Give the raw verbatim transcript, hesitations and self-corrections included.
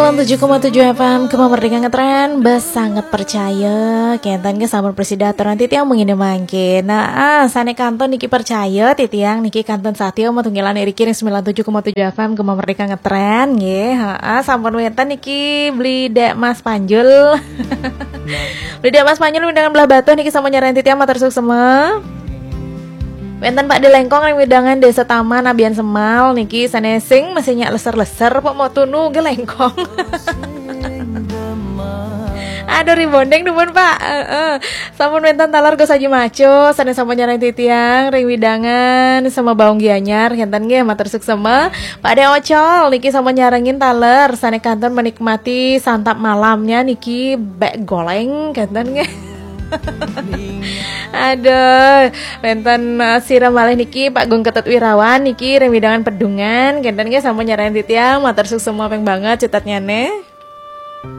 Tujuh koma tujuh F M Gema Merdeka Ngetren, bes sanget percaya. Kenten nggih sampun prasida aturan titiang mangkin mangke. Nah, ah, sane kantun niki percaya titiang niki kantun satya matunggilan iriki ring sembilan tujuh koma tujuh F M Gema Merdeka Ngetren nggih. Heeh, sampun wenten niki Beli Dek Mas Panjul. Beli Dek Mas Panjul wewidangan Blahbatuh niki sampun nyarengin titiang matur suksma. Wenten Pak Di Lengkong ring wewidangan Desa Taman Abian Semal niki sane sing masih nyak leser-leser Pak mau tunu nggih Lengkong. Aduh rebonding dumun Pak. Heeh. Sampun wenten taler Gus Haji Maco sane sampun nyarengin titiang ring wewidangan Semebaung Gianyar kenten nggih matur suksma. Pak De Ocol niki sampun nyarengin taler sane kantun menikmati santap malamnya niki bek goleng kenten nggih. Aduh, wenten uh, sira malih niki Pak Gung Ketut Wirawan niki ring wewidangan Pedungan kenten nggih sampun nyarengin titiang matur suksma ping banget cutetnyane.